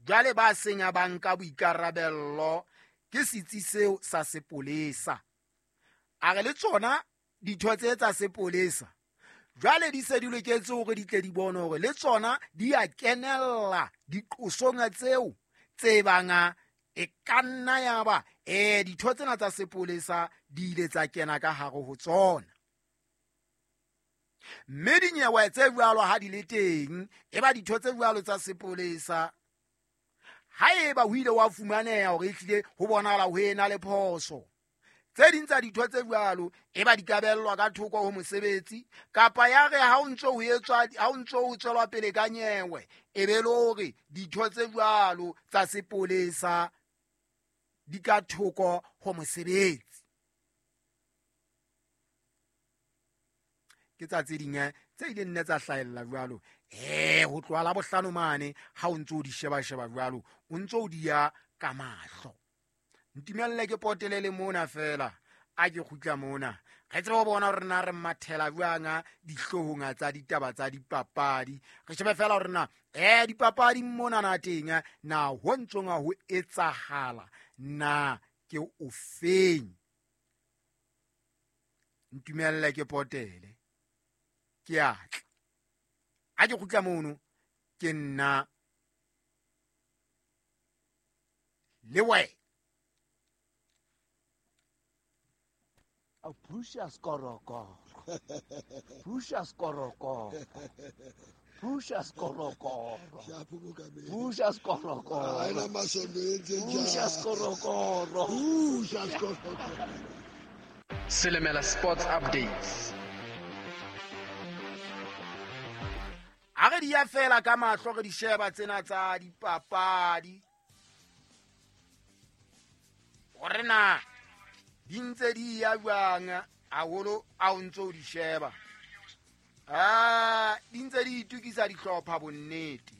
Jwale ba seng ba nka boikarabello ke setsi seo sa sepolesa. A re le tsona ditho tse tsa sepolesa jwale di se di loketse hore di tle di bone hore le tsona di a kenella diqosong tseo tse banga e ka nna ya ba ditho tsena tsa sepolesa di ile tsa kena ka hare ho tsona. Mme dinyewe tse jwalo ha di le teng, e ba ditho tse jwalo tsa sepolesa haeba ho ile wa fumaneha hore ehlile ho bonahala ho ena le phoso, tse ding tsa ditho tse jwalo e ba di kabellwa ka thoko ho mosebetsi, kapa ya re ha o ntso ho etswa, ha o ntso ho tswelwa pele ka nyewe, e be le hore ditho tse jwalo tsa sepolesa di ka thoko ho mosebetsi. Ke tsa tse ding tse ileng nne tsa hlahella jwalo. Ho tloha la bohlano mane ha o ntso o di sheba-sheba jwalo, o ntso o di ya ka mahlo. Ntumelle ke potele le mona feela, a ke kgutla mona. Re tsebe ho bona hore na re mathela jwang dihloohong tsa ditaba tsa dipapadi. Re shebe feela hore na dipapadi mona na teng, na ho ntsong ho etsahala na ke ofeng. Ntumelle ke potele, ke a tla. Ha ke kgutla mono, ke nna le wena. Precious Korokoro. Precious Korokoro. Precious Korokoro. Precious Korokoro. Precious Korokoro. Precious Korokoro. Silimela Sports Updates. Ha re di ya fela ka mahlo re di sheba tsena tsa dipapadi. Hore na di ntse di ya jwang haholo a o ntso o di sheba. Di ntse di itukisa dihlopha bonnete.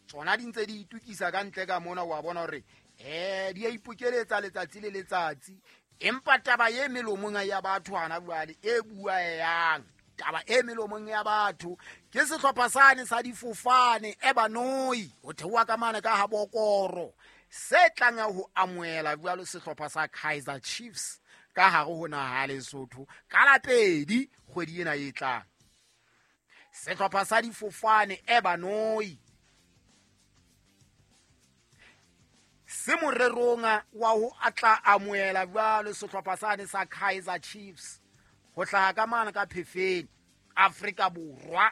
Tsona di ntse di itukisa ka ntle ka mona, wa bona hore di a ipokeletsa letsatsi le letsatsi. Empa taba e melomong ya batho hana jwale e buang, taba e melomong ya batho ke sehlopha sane sa difofane e banoi ho theoha ka mane ka ha Bokoro se tlang ho amohela jwalo sehlopha sa Kaizer Chiefs ka hare ho naha ya Lesotho ka la pedi kgwedi ena e tlang. Sehlopha sa difofane e banoi se morerong wa ho atla amohela jwalo sehlopha sane sa Kaizer Chiefs ho hlaha ka mane ka Phefeni Afrika Borwa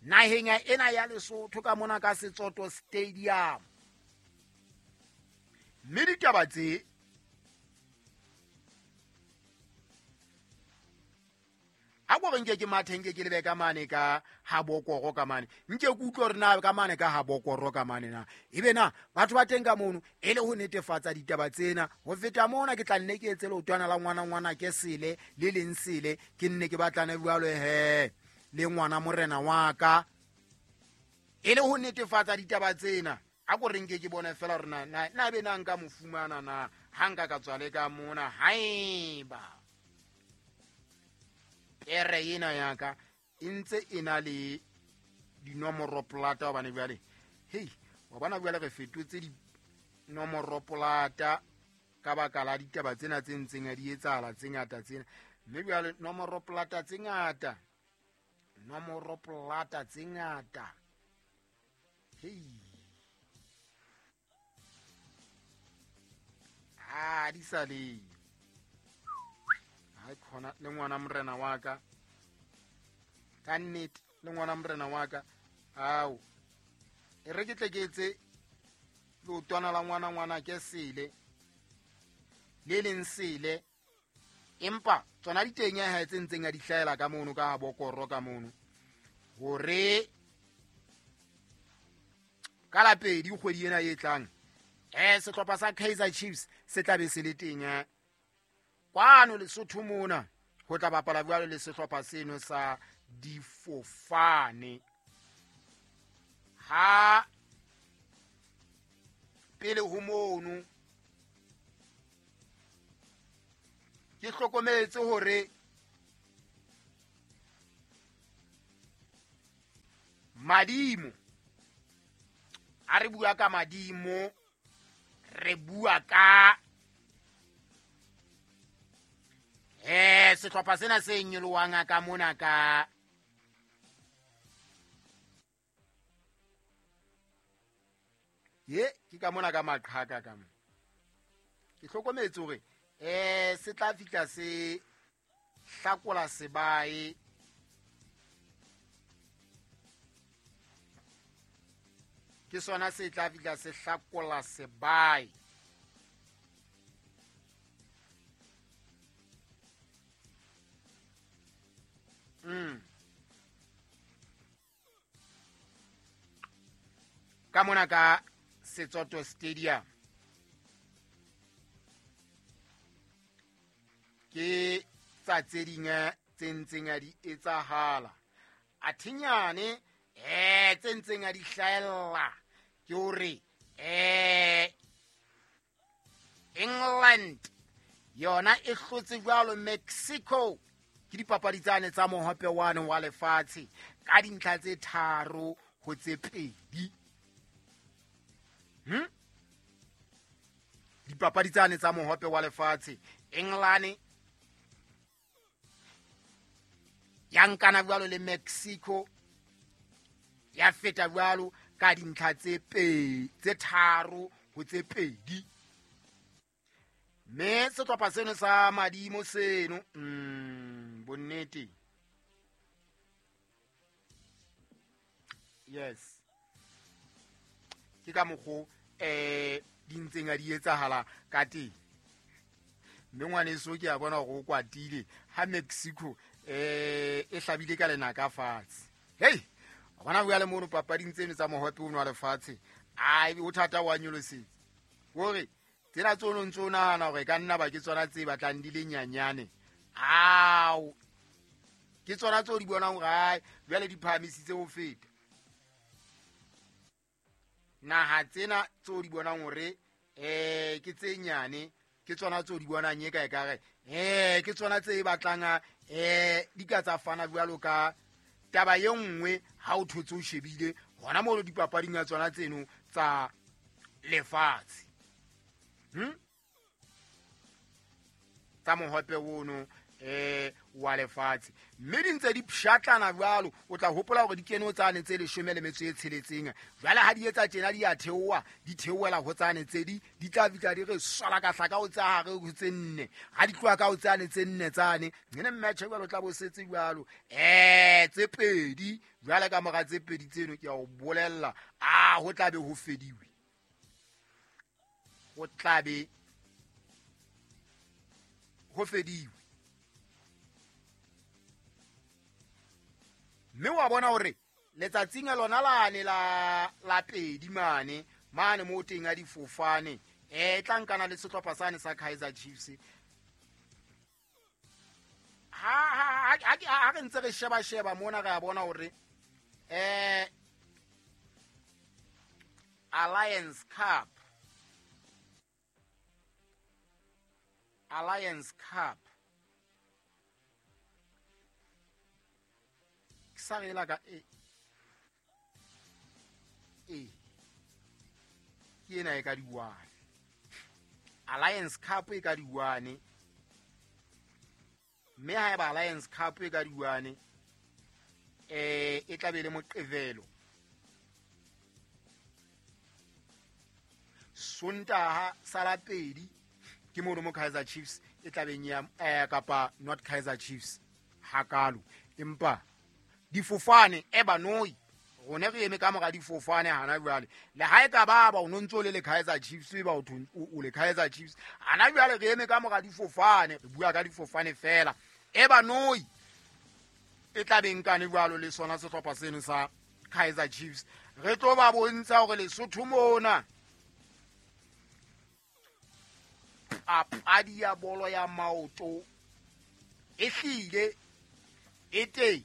naheng ena ya Lesotho ka mona ka Setsoto Stadium. Mme ditaba tse ha ko re nke ke mathe, nke ke lebe ka mane ka ha Bokoro ka mane, nke ke utlwe hore na ka mane ka ha Bokoro ka mane na ebe na batho ba teng ka mono e le ho netefatsa ditaba tsena. Ho feta mona ke tla nne ke etse leotwana la ngwana ngwana ke sele le leng sele, ke nne ke batlane jwalo he le ngwana morena wa ka e le ho netefatsa ditaba tsena. A ko re nke ke bone fela hore na be na nka mo fumana na ha nka ka tswa le ka mona haeba pere ena ya ka e ntse e na le dinomoro polata, hobane jwale hei wa bona jwale re fetotse dinomoro polata ka baka la ditaba tsena tse ntseng di etsahala tse ngata tsena. Mme jwale nomoro polata tse ngata, nomoro polata tse ngata, hei ha di sa le ha khona le ngwana morena wa ka ka nnete, le ngwana morena wa ka ao e re ke tle ke etse leotwana la ngwana ngwana ke sele le leng sele, empa tsona di teng ha tse ntseng a di hlahela ka mono ka Bokoro ka mono hore ka la pedi kgwedi ena e tlang sehlopha sa Kaizer Chiefs se tla be se le teng kwano Lesotho mona ho tla bapala jwalo le sehlopha seno sa difofane. Ha pele ho mono ke hlokometse hore madimo Ha re bua ka madimo, re bua ka sehlopha sena se nyolohang ka mona ka ye ke ka mona ka maqhaka ka mona. Ke hlokometse hore se tla fihla se hlakola sebae. Ke sona se tla fihla se hlakola sebae. Ka mona ka Setsoto Stadium. Ke tsa tse ding tse ntseng a di etsahala. Athinyane tse ntseng a di hlahella ke hore England yona e hlotse jwalo Mexico ke dipapadi tsane tsa mohope wane wa lefatshe ka dintlha tse 3 ho tse 2. Dipapadi tsane tsa mohope wa lefatshe England ya nkana jwalo le Mexico ya feta jwalo ka dintlha tse 3 ho tse 2. Mme sehlopha seno sa madimo seno bonnete. Yes. Ke ka mokgo di ntseng a di etsahala ka teng. Mme ngwaneso ke a bona hore o kwatile ha Mexico e hlabile ka lenaka fatshe. Hey, bona bua le mono papading tseno tsa mohope ono wa lefatshe. Ai o thata wa nyolosetse. Hore tsena tsono ntso nahana hore ka nna ba ke tsona tse batlang di le nyanyane. Ao. Ke tsona tseo di bonang hore ai jwale di phahamisitse ho feta. Naha tsena tseo di bonang hore ke tse nyane ke tsona tseo di bonang e ka e ka re ke tsona tse batlang di ka tsa fana jwalo ka taba ye nngwe ha o thotse o shebile hona mo dipapading ya tsona tseno tsa lefatshe. Tsa mohope ono wa lefatshe. Mme di ntse di pshatlana jwalo, o tla hopola hore di kene ho tsane tse 16. Jwale ha di etsa tjena di a theoha, di theohela ho tsane tse di tla fihla di re swala ka hlaka ho tsa hare ho tse 4. Ha di tloha ka ho tsane tse 4 tsane, nene match jwalo tla bo setse jwalo. Tse 2, jwale ka mora tse 2 tseno ke a o bolella, ho tla be ho fediwe. Ho tla be ho fediwe. Mme wa bona hore letsatsing lona lane la pedi mane mo teng a difofane tla nkana le sehlopha sane sa Kaizer Chiefs. Ha re ntse re sheba mona re a bona hore Alliance Cup sa re la ka ke ena e ka di-1. Alliance Cup e ka di-1. Mme ha eba Alliance Cup e ka di-1 e tla be le Moqebelo. Sontaha sa la pedi ke mono mo Kaizer Chiefs e tla beng ya kapa not Kaizer Chiefs hakalo, empa difofane e banoi rone re eme ka mora difofane hana jwale. Le ha e ka ba o ntso le Kaizer Chiefs ba o le Kaizer Chiefs hana jwale re eme ka mora difofane, re bua ka difofane fela. E banoi e tla beng kane jwalo le sona sehlopha seno sa Kaizer Chiefs. Re tlo ba bontsha hore Lesotho mona papadi ya bolo ya maoto e hlile e teng.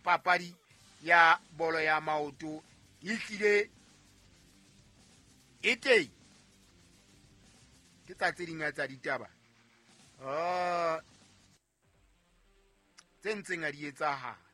Papadi ya bolo ya maoto e hlile e teng. Ke tsa tse ding tsa ditaba tse ntseng a di etsahala.